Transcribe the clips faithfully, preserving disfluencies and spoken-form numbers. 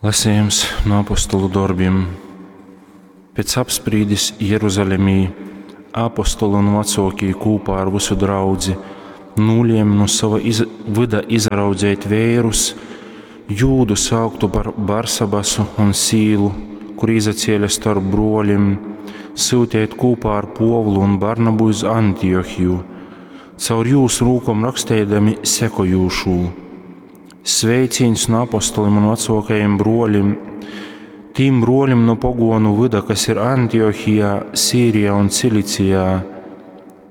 Lasījums no apostolu dorbiem. Pēc apsprīdis Jeruzalemī apostoli un vecākie kopā ar visu draudzi nolēma no sava iz vyda izraudzēt vērus, Jūdu sauktu par Barsabasu un Sīlu, kur izacēla starp broļiem, sūtīt kopā ar Povlu un Barnabu uz Antiohiju, caur jūs rūkom rakstēdami sekojošū. Sveiciens no apostoliem un vecākajiem broļiem, tīm broļiem no pogonu vida, kas ir Antiohijā, Sīrijā un Cilicijā.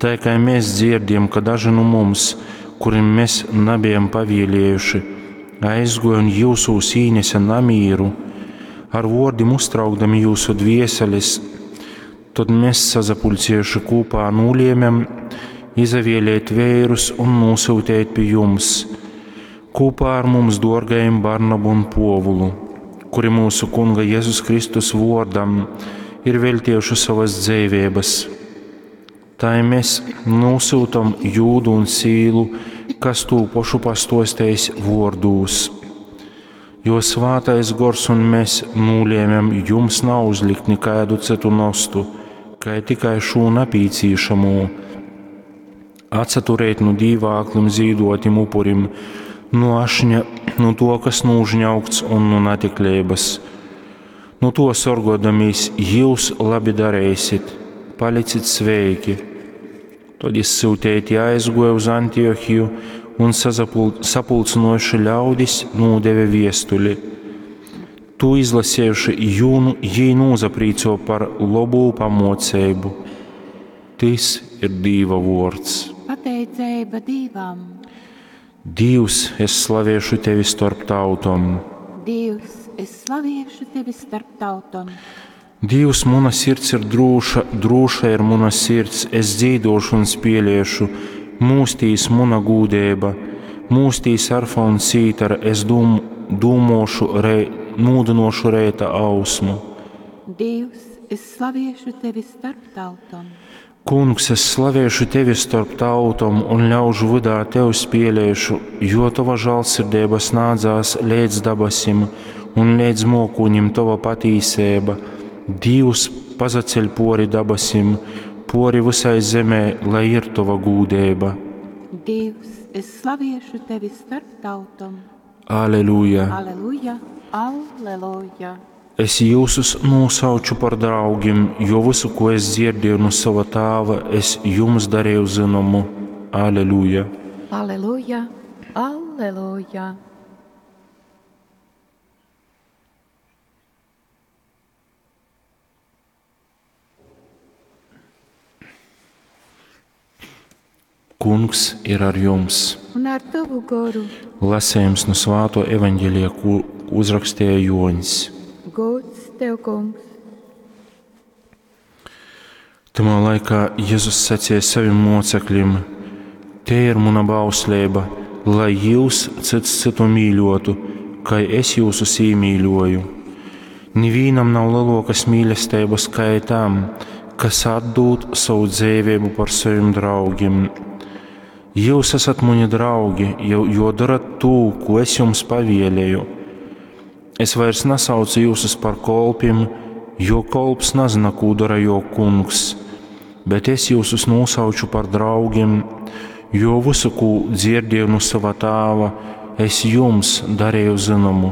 Tā kā mēs dzirdam, ka daži no mums, kuriem mēs nebijam pavēlējuši, aizgoja un jūsūs īnesa namīru, ar vārdiem uztraukdami jūsu dvieseles, tad mēs sazapulcējuši kopā nolēmēm izavēlēt vērus un nosūtīt pie jums kopā ar mums dārgajiem Barnabu un Povulu, kuri mūsu Kunga Jēzus Kristus vārdam ir veltījuši savas dzīvības. Tā mēs nosūtam Jūdu un Sīlu, kas tū pošu pastostējis vārdūs. Jo svātais gors un mēs nolēmēm jums nav uzlikt nekādu citu nostu, kā tikai šo napīcīšamo, atsaturēt no dīvāklim zīdotim upurim, no ašņa, no to, kas nūžņaukts un no natiklības. No to sorgodamīs jūs labi darēsit, palicit sveiki. Tad izsūtēti aizgoja uz Antiohiju un sazapul, sapulcinojuši ļaudis nūdeve viestuli. Tu izlasējuši jūnu, jī nūzaprīco par lobū pamoceibu. Tis ir Dīva vords. Pateiceiba Dīvam! Dievs, es slaviešu tevi starp tautom. Dievs, es slaviešu tevi starp tautom. Dievs, mana sirds ir drūša, drūša ir mana sirds, es dzīdošu un spieliešu, mūstīs mana gūdība, mūstīs arfa un cītara, es dūm, dūmošu, rei, nūdinošu reita ausmu. Dievs, es slaviešu tevi starp tautom. Kungs, es slavēšu tevi starp tautom un ļaužu vydā tev spielēšu, jo tava žālsirdība snādzās līdz dabasim un līdz mokūņim tava patīsība. Dievs pazaceļ pori dabasim, pori visai zemē, lai ir tava gūdība. Dievs, es slaviešu tevi starp tautom. Aleluja! Aleluja, aleluja! Es jūsus nosauču par draugiem, jo visu, ko es dzirdēju no sava tāva, es jums darīju zināmu. Aleluja! Aleluja, aleluja! Kungs ir ar jums. Un ar tavu goru. Lasījums no Svāto evaņģēlija, ko uzrakstīja Joņs. Gods tev, kungs! Tamā laikā Jēzus sacīja saviem mocekļiem: Te ir mana bauslība, lai jūs cits citu mīļotu, kā es jūsus iemīļoju. Nevienam nav lielākas mīlestības kā tam, kas atdod savu dzīvību par saviem draugiem. Jūs esat mani draugi, jo, jo darat to, ko es jums pavēlēju. Es vairs nesaucu jūsus par kolpiem, jo kolps nezina, ko dara jo kungs, bet es jūsus nosauču par draugiem, jo visu, ko dzirdēju no sava tāva, es jums darīju zināmu.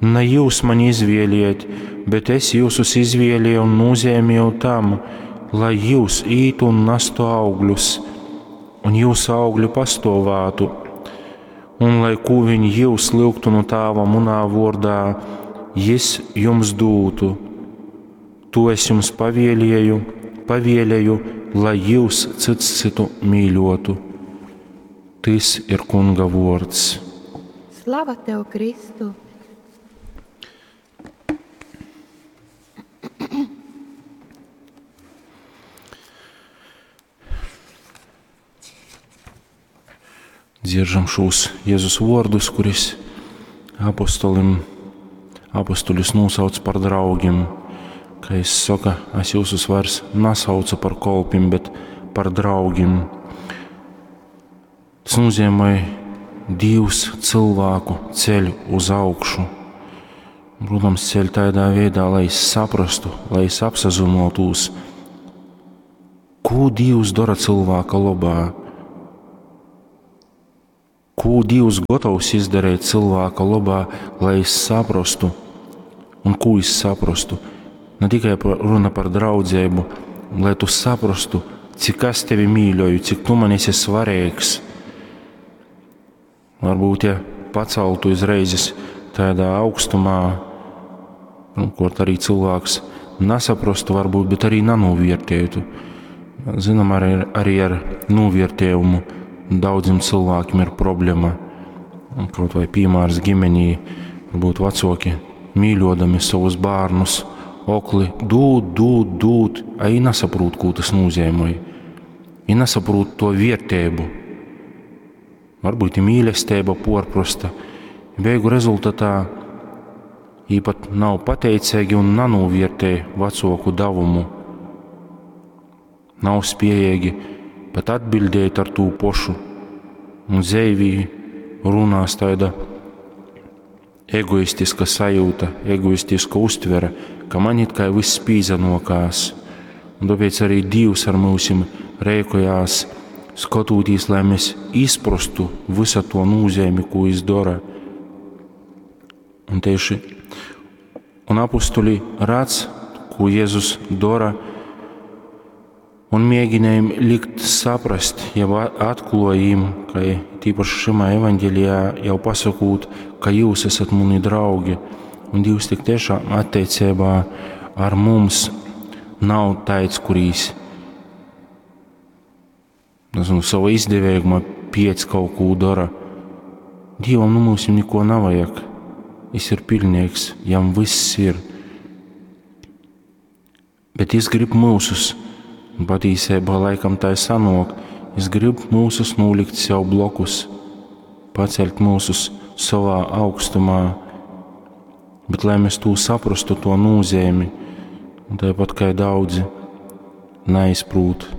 Ne jūs mani izvēliet, bet es jūsus izvēlēju un nozīmēju tam, lai jūs ītu un nestu augļus, un jūsu augļu pastovātu, un lai ko viņi jūs lūgtu no tāva munā vārdā, jis jums dūtu. To es jums pavēlēju, pavēlēju, lai jūs cits citu mīļotu. Tis ir Kunga vārds. Slava tev, Kristu! Dzieržam šos Jēzus vārdus, kuris apostolim, apostoļus nosauc par draugiem. Kā es saka, es jūsus vairs nesaucu par kolpim, bet par draugiem. Tas nozīmē Dievs cilvēku ceļu uz augšu. Protams, ceļ tādā veidā, lai es saprastu, lai es apsazynuotūs, ko Dievs dara cilvēka labā, ko Dievs gatavs izdarīt cilvēka labā, lai es saprastu, un ko es saprastu. Ne tikai par, runa par draudzību, lai tu saprastu, cik es tevi mīļoju, cik tu man esi svarīgs. Varbūt, ja paceltu izreizes tādā augstumā, nu, kur arī cilvēks nesaprastu, varbūt, bet arī nenovērtētu. Zinām, arī, arī ar novērtējumu daudziem cilvēkiem ir problēma. Kaut vai piemērs ģimenī, varbūt vecāki mīļodami savus bērnus, okli dūd, dūd, dūd, a i nesaprot, ko tas nozīmē. I nesaprot to vērtību. Varbūt i mīlestība porprosta. Beigu rezultatā jī pat nav pateicīgi un nenovērtē vecāku devumu. Nav spējīgi pat atbildēt ar tū pošu. Un zeivī runās tāda egoistiska sajūta, egoistiska uztvere, ka man it kā viss pīzanokās. Un tāpēc arī Dievs ar mūsim rēkojās, skatoties, lai mēs izprastu visu to nozīmi, ko viņš dara. Un tieši un apustuļi redz, ko Jēzus dara, un mēģinājam likt saprast, jau atklājam, ka tīpaši šimā evaņģēlijā jau pasakot, ka jūs esat mani draugi, un Dievs tik tiešām attiecībā ar mums nav tāds, kurīs nezinu, sava izdevīguma piec kaut ko dara. Dievam nu mums neko nevajag. Viņš ir pilnīgs, jam viss ir. Bet viņš grib mūsus, un patīsībā laikam tā ir sanok, viņš grib mūsus nolikt sev blokus, paceļt mūsus savā augstumā, bet lai mēs to saprastu, to nozīmi, un tāpat kā daudzi neizprūt,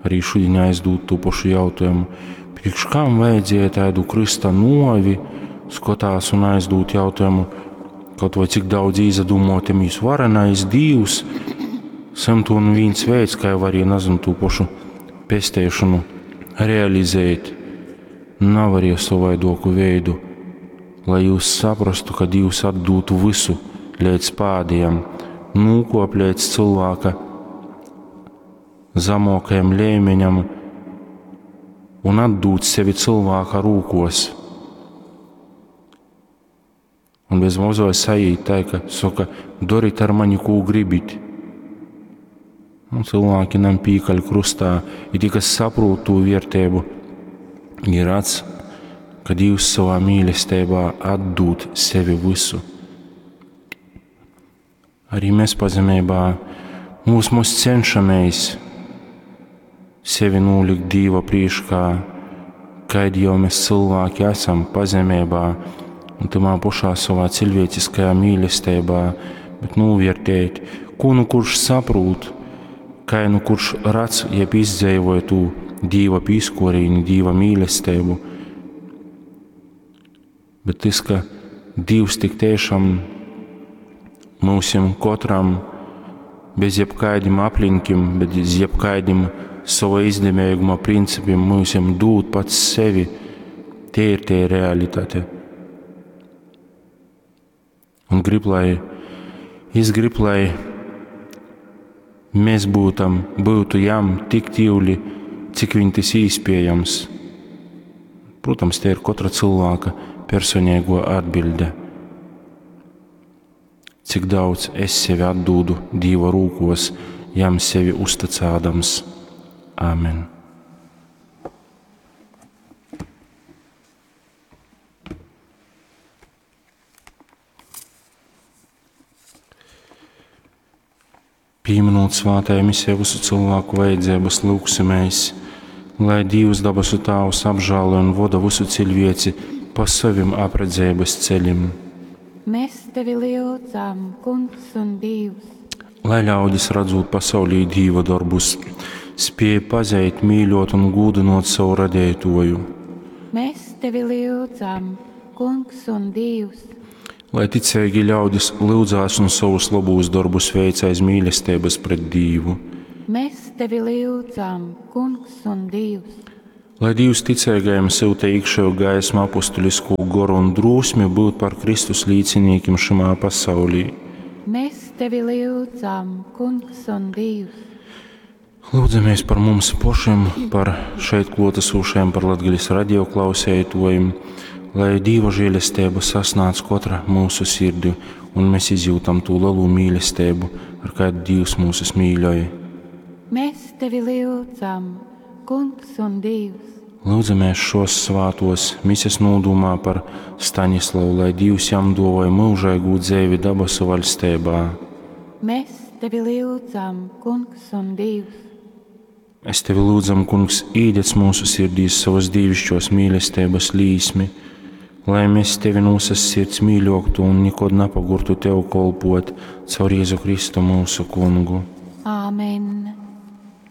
arī šodien aizdūt to pašu jautājumu, priekš kam vajadzēja tādu Krista novi, skatās un aizdūt jautājumu, kaut vai cik daudz īzadomāties varenais Dievs, simt un viens veids, kā jau arī nezinu to pašu pestēšanu realizēt, nav arī savaidoku veidu, lai jūs saprastu, ka Dievs atdūtu visu līdz pādiem, nūkop līdz cilvēka zemākajam līmeņam un atdūt sevi cilvēka rūkos. Un bez mozoja sajūt tā, ka saka, dariet ar mani, ko gribit. Un cilvēki nam pīkaļ krustā, ir tie, kas saprot to vērtību, ir redz, ka Dievs savā mīlestībā atdod sevi visu. Arī mēs pazemībā mūs, mūs cenšamies sevi nolikt Dieva priekšā, kādi jau mēs cilvēki esam pazemībā un tamā pašā savā cilvēciskajā mīlestībā, bet novērtēt, ko nu kurš saprot, kā nu kurš redz, jeb izdzīvoja to Dieva pīskorīni, Dieva mīlestību. Bet tas, ka Dievs tik tiešām mūsim katram bez jebkādiem aplinkiem, bez jebkādiem sava izdevīguma principiem mūsim dūt pats sevi, tie ir tie realitāte. Un grib, lai, es grib, lai mēs būtam, būtu jam tik tīvli, cik viņ tas īspējams. Protams, te ir katra cilvēka personīgo atbilde. Cik daudz es sevi atdūdu Dieva rūkos, jam sevi uzticādams. Āmen. Pieminot svētajā misijā visu cilvēku vajadzības, lūgsimies, lai Dievs dabasu Tāvs apžēlo un voda visu cilvēci pa savim apredzības ceļiem. Mēs tevi lūdzam, Kungs un Dievs. Lai ļaudis redzot pasaulī Dieva darbus, spēj pazīt, mīļot un gūdinot savu radītoju. Mēs tevi lūdzam, Kungs un Dievs. Lai ticeigi ļaudis lyudzās un sovus lobūs dorbus veic aiz mīlesteibas pret Dīvu. Mes tevi lyudzam, Kungs un Dīvs. Lai Dīvs ticeigajim syuta īkšeju gaismu, apostuliskū goru un drūsmi byut par Kristus līcinīkim šymā pasaulī. Mes tevi lyudzam, Kungs un Dīvs. Lūdzamies par mums pošim, par šeit kluotasūšajiem, par Latgales radio klauseituojim, lai Dīva žēlesteiba sasnādz kotra mūsu sirdi un mēs izjūtam tū lelū mīlesteibu, ar kādu Dīvs mūsus mīļoj. Mēs tevi lyudzam, Kungs un Dīvs. Lūdzamies šos svātos mises nūdūmā par Stanislavu, lai Dīvs jam duovoja mūžīgu dzeivi dabasu vaļsteibā. Mēs tevi lyudzam, Kungs un Dīvs. Es tevi lūdzam, Kungs, īdedz mūsu sirdīs savas dīvišķos mīlestības līsmi, lai mēs tevi no visas sirds mīļoktu un nekad napagurtu tev kolpot caur Jēzu Kristu mūsu kungu. Āmen.